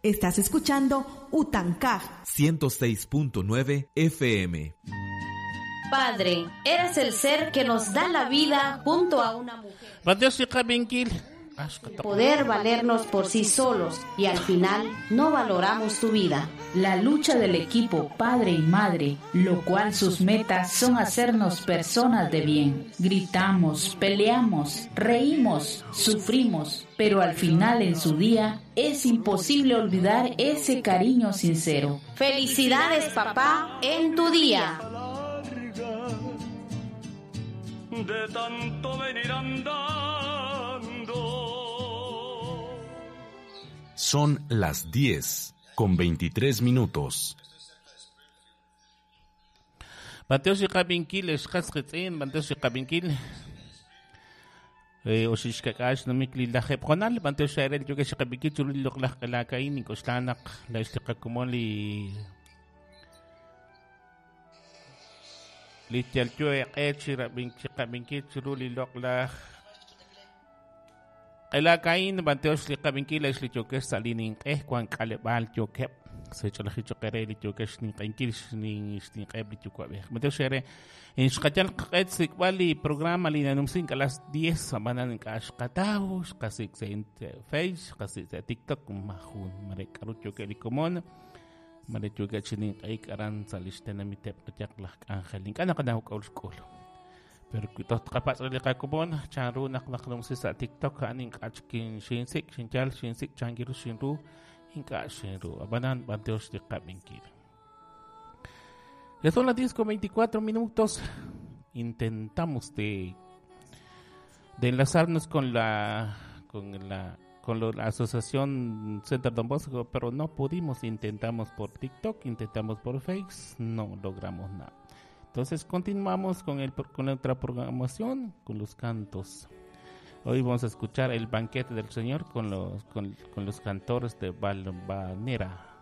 Estás escuchando Utancaj 106.9 FM. Padre, eres el ser que nos da la vida junto a una mujer. Poder valernos por sí solos y al final no valoramos tu vida. La lucha del equipo padre y madre, lo cual sus metas son hacernos personas de bien. Gritamos, peleamos, reímos, sufrimos, pero al final en su día es imposible olvidar ese cariño sincero. Felicidades papá en tu día. De tanto venir andando. Son las 10 con 23 minutos. Mateo Xiqabinkil, xqasqitz'in, Mateo Xiqabinkil. Oxixkak'ax nomik lilajeb'jonal, Mateo xarel yoke xiqabinkil chulul loqlaj q'elakain, ink'oxlanaq la ixtiqakumon li lityalyo eq'ech xiqabinkil chulul loqlaj q'elakain, Mateo xliqabinkil xliyokex salinin q'ej kuan k'aleb'al yokeb' sech'olajichoqere liyokex ninq'enkil xninq'eb liyuwa'b'ej. Mateo xere en xqayal q'et sikb'al li programa li nanumsin a las 10 amanan k'axqataw xqasik sa Face xqasik sa TikTok majun mare k'aru yoke likomon mare yoke chininq'ik aran salixtenamiteb qyaq laj k'anjel ink'a' naqanaw k'awl xk'ul. Pero toh tqapatz' li qakomon chanru naq naqnumsi sa TikTok a'an ink'a' chkin xinsik xinchal xinsik chankiru xinru ink'a' xinru abanan banteox li qab'inkil. Ya son las 10 con 24 minutos. Intentamos de enlazarnos con la asociación Center Don Bosco, pero no pudimos. Intentamos por TikTok, intentamos por Face, no logramos nada. Entonces continuamos con otra programación, con los cantos. Hoy vamos a escuchar el banquete del Señor con los cantores de Valvanera.